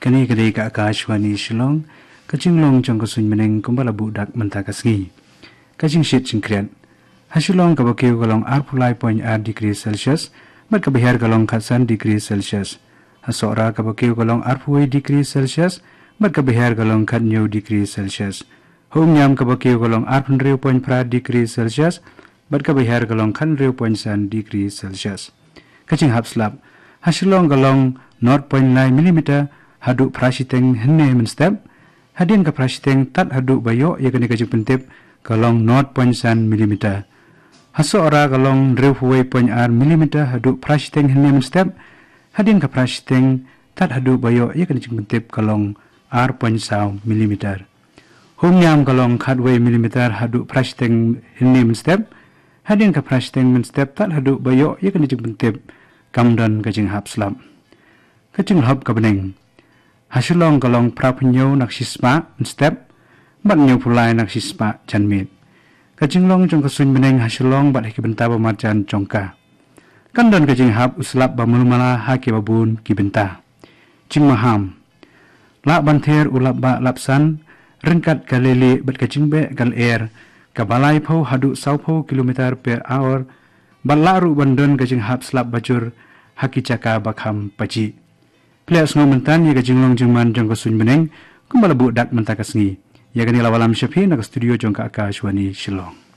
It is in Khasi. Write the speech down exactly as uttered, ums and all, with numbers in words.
Kane ka dei ka Akashvani Shillong, ka jinglong jong ka suiñ bneng kumba la buh dak mynta ka sngi. Ka jingshit jingkhriat. Ha Shillong kaba kiew ka long arphew lai point ar degree Celsius, bad kaba hiar ka long khatsan degree Celsius. Ha Sohra kaba kiew ka long arphew wei degree Celsius, bad kaba hiar ka long khathynñiew degree Celsius. Ha Umïam kaba kiew ka long arphew hynriew point phra degree Celsius, bad kaba hiar ka long khathynriew point san degree Celsius. Ka jinghap slap. Ha Shillong ka long nought point lai millimeter haduh phra shiteng hynne mynstep. Hadien ka phra shiteng tad haduh ba ïoh ïa kane ka jingpyntip ka long nought point san millimeter. Ha Sohra ka long hynriewphew wei point ar millimeter haduh phra shiteng hynne mynstep. Hadien ka phra shiteng tad haduh ba ïoh ïa kane ka jingpyntip ka long ar point saw millimeter. Ha Umïam ka long khatwei millimeter haduh phra shiteng hynne mynstep. Hadien ka phra shiteng mynstep tad haduh ba ïoh ïa kane ka jingpyntip kam don ka jinghap slap. Ka jinglhop ka bneng. Ha Shillong ka long phraphew hynñiew na ka shispah mynstep, bad hynñiewphew lai na ka shispah janmiet. Ka jinglong jong ka suiñ bneng ha Shillong bad ha ki bynta ba marjan jong ka. Kan don ka jinghap u slap ba mulmala ha kiba bun ki bynta. Jingmaham. Lah ban ther u lapbah lapsan, ryngkat ka leilieh bad ka jingbeh ka lyer, kaba laiphew haduh sawphew kilometer per hour, bad lah ruh ban don ka jinghap slap bajur ha ki jaka ba kham pajih. Phi la sngew mynta ïa ka jinglong jingman jong ka suiñ bneng kumba la buh dak mynta ka sngi. Ïa kane la wallam sha phi na ka studio jong ka Akashvani Shillong.